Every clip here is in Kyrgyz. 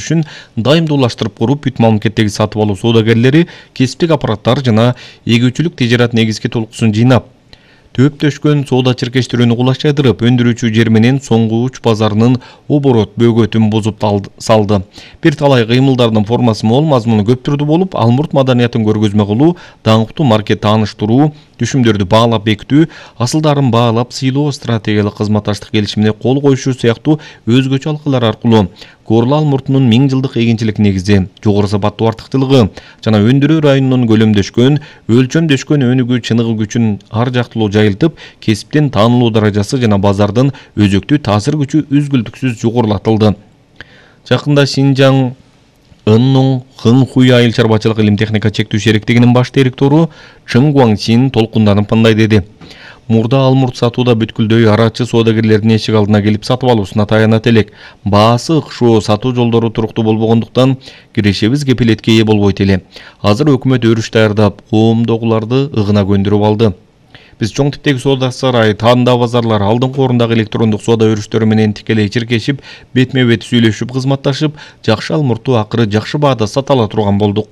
өндүрүшүн дайымдуулаштырып куруп, бүт мамлекеттеги сатып алуу соодагерлери кесиптик аппараттар жана эгүүчүлүк тежарат негизги толкуусун жыйнап, төптөшкөн соода чиркештирүүнү кулачайдырып, өндүрүүчү жер менен соңку уч базарынын оборот бөгөтүн бузуп салды. Бир талай кыймылдардын формасы мол, мазмуну көп түрдүү болуп, Алмурт маданиятын көргөзмө кылуу, даңктуу маркет тааныштыруу, түшүмдөрдү баалап бекитүү, асылдарын баалап сыйлоо, стратегиялык кызматташтык келишимине кол коюшу сыяктуу өзгөчө алкалар аркылуу Корла Алмуртунун 1000 жылдык эгинчилик негизи, жогору сапаттуу артыктуулугу жана өндүрүү районунун көлөмдөшкөн, өлчөмдөшкөн өнүгүү чыныгы күчүн ар жактылуу жайылтып, кесиптин таанылуу даражасы жана базардын өзөктүү таасир күчү үзгүлтүксүз жогорулатылды. Жакында Шинжаң Ыннуң Хыңхуй айыл чарбачылык илим техника чектүү шериктигинин баш директору Чың Гуаңчин толкунданып мындай деди. Мурда Алмурт сатууда бүткүлдөй арачы соодагерлердин эшик алдына келип сатып алуусуна таянат элек. Баасы ыкшоо, сатуу жолдору туруктуу болбогондуктан кирешебиз кепилетке ээ болбойт эле. Азыр өкмөт өрүш даярдап, коомдогуларды ыгына көндүрүп алды. Биз чоң типтеги соода сарай, таанда базарлар, алдыңкы орундагы электрондук соода өрүштөрү менен тикелей чиркешип, бетме-бет сүйлөшүп, кызматташып, жакшы Алмуртту акыры жакшы баада сата ала турган болдук.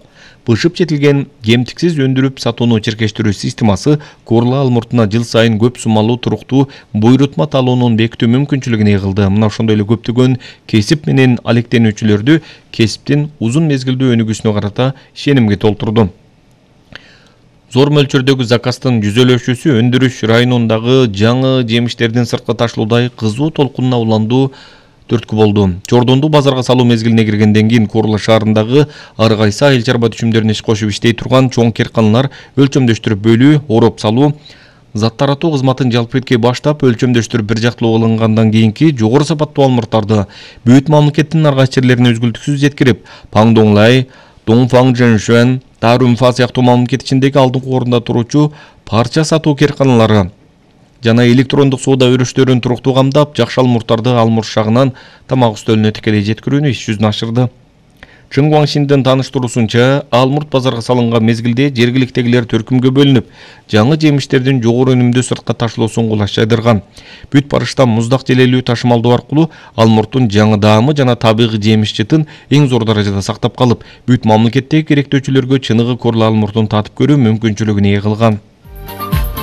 Бышып жетилген кемтиксиз өндүрүп сатууну чиркештирүү системасы Корла Алмуртуна жыл сайын көп суммалуу туруктуу буйрутма талоонун бекитүү мүмкүнчүлүгүн кылды. Мына ошондой эле көптөгөн кесип менен алектенүүчүлөрдү кесиптин узун мезгилдүү өнүгүүсүнө карата ишенимге толтурду. Зор мөлчөрдөгү заказдын жүзөлөшүүсү өндүрүш районундагы жаңы жемиштердин сыртка ташылуудай кызуу толкунуна уландуу түрткү болду. Чордонду базарга салуу мезгилине киргенден кийин Корла шаарындагы ар кайсы айыл чарба түшүмдөрүнө иш кошуп иштей турган чоң керканалар өлчөмдөштүрүп бөлүү, ороп салуу, зат таратуу кызматын жалпы эткей баштап, өлчөмдөштүрүп бир жактылуу кылынгандан кийинки жогору сапаттуу алмурттарды бүт мамлекеттин ар кайсы жерлерине үзгүлтүксүз жеткирип, Паңдоңлай, Доңфаң Жэншуэн, Тарунфа сыяктуу мамлекет ичиндеги алдыңкы орунда туручу парча сатуу керканалары жана электрондук соода өрүштөрүн туруктуу камдап, жакшы алмурттарды Алмурт шагынан тамак үстөлүнө тикелей жеткирүүнү иш жүзүнө ашырды. Чың Гуаңшиндин тааныштыруусунча, Алмурт базарга салынган мезгилде жергиликтегилер төркүмгө бөлүнүп, жаңы жемиштердин жогору өнүмдүү сыртка ташлоосун кулачайдырган. Бүт барышта муздак желелүү ташымалдоо аркылуу Алмурттун жаңы даамы жана табигый жемиш жытын эң зор даражада сактап калып, бүт мамлекеттеги керектөөчүлөргө чыныгы Корла Алмуртун татып көрүү мүмкүнчүлүгүн ээ кылган.